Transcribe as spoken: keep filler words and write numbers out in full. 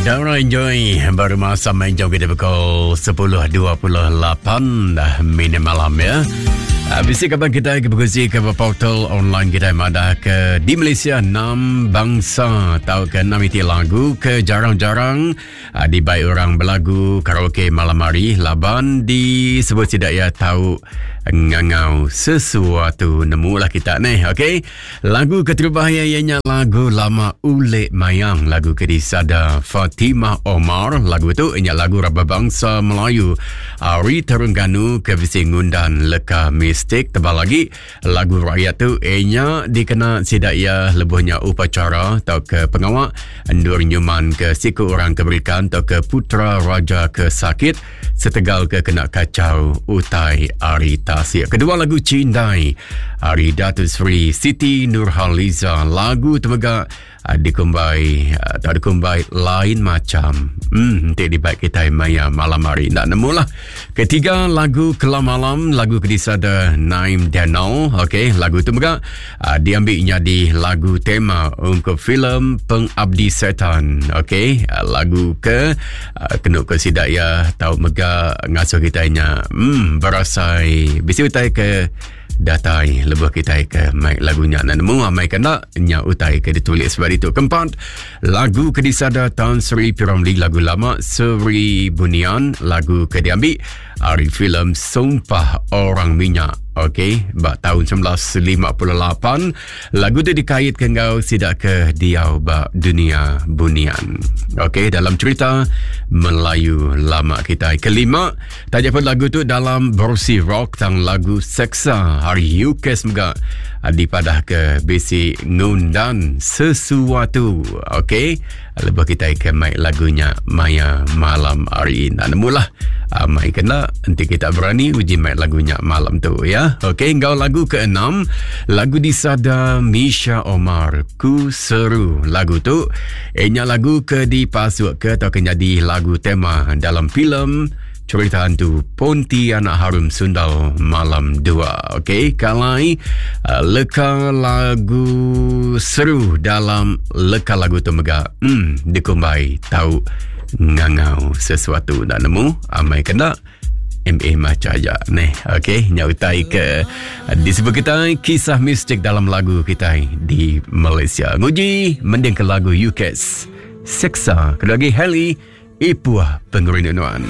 Dara enjoy baru masa main jauh kita pukul sepuluh dua puluh lapan dah minit malam ya. Bisi kaban kita ke berkongsi ke portal online kita madah ke di Malaysia enam bangsa atau ke enam iti lagu ke jarang-jarang dibai orang berlagu karaoke malam hari laban disebut tidak ya tahu ngangau sesuatu nemulah kita ni. Okey, lagu keterubah ianya lagu lama Ulek Mayang, lagu ke disada Fatimah Omar. Lagu tu ianya lagu raba bangsa Melayu Ari Terengganu ke bisi ngundan leka mistik. Tebal lagi lagu rakyat tu ianya dikena sidak ia lebuhnya upacara atau ke pengawak endur nyuman ke siku orang keberikan atau ke putra raja ke sakit setegal ke kena kacau utai ari tasik. Kedua lagu Cindai ari Datuk Seri Siti Nurhaliza. Lagu tu mega dikumbai atau dikumbai lain macam. Hmm, nanti dibaik kita maya malam hari. Nak nemulah. Ketiga lagu Kelam Malam, lagu kedisada Naim Daniel. Okey, lagu tu mega uh, diambilnya di lagu tema untuk filem Pengabdi Setan. Okey, uh, lagu ke uh, kena ke sidak ya tau mega ngasuh kita nya hmm berasai bisi utai ke datai lebuh kita ke mic lagunya nak nemu amai kena nya utai ke ditulis sebab itu. Keempat lagu ke disada Tan Sri P. Ramlee, lagu lama Seri Bunian, lagu ke diambil ari filem Sumpah Orang Minyak. Okey, bak tahun sembilan belas lima puluh lapan lagu tu dikaitkan ngau sidak ke diau bak dunia bunian. Okey, dalam cerita Melayu lama kita. Kelima, tajuk pun lagu tu dalam versi rock tang lagu Seksa hari U K semoga dipadah ke bisi ngundan sesuatu. Okey, lebih kita ke mic lagunya maya malam hari ini. Nak nemulah mai kena nanti kita berani uji mic lagunya malam tu ya. Okey, ngau lagu keenam, lagu disada Misha Omar, Ku Seru. Lagu tu ianya lagu ke dipasuk ke atau ke jadi lagu tema dalam filem cerita hantu Pontianak Harum Sundal Malam dua. Okey, kalai uh, leka lagu seru dalam leka lagu tu mega hmm dikumbai tau ngangau sesuatu. Nak nemu amai kena M A maca aja nih. Okey, nyautai ke disebut kita kisah mistik dalam lagu kita di Malaysia. Nguji mending ke lagu U K S Seksa. Kedua lagi Heli Ipuah Pengerinduan.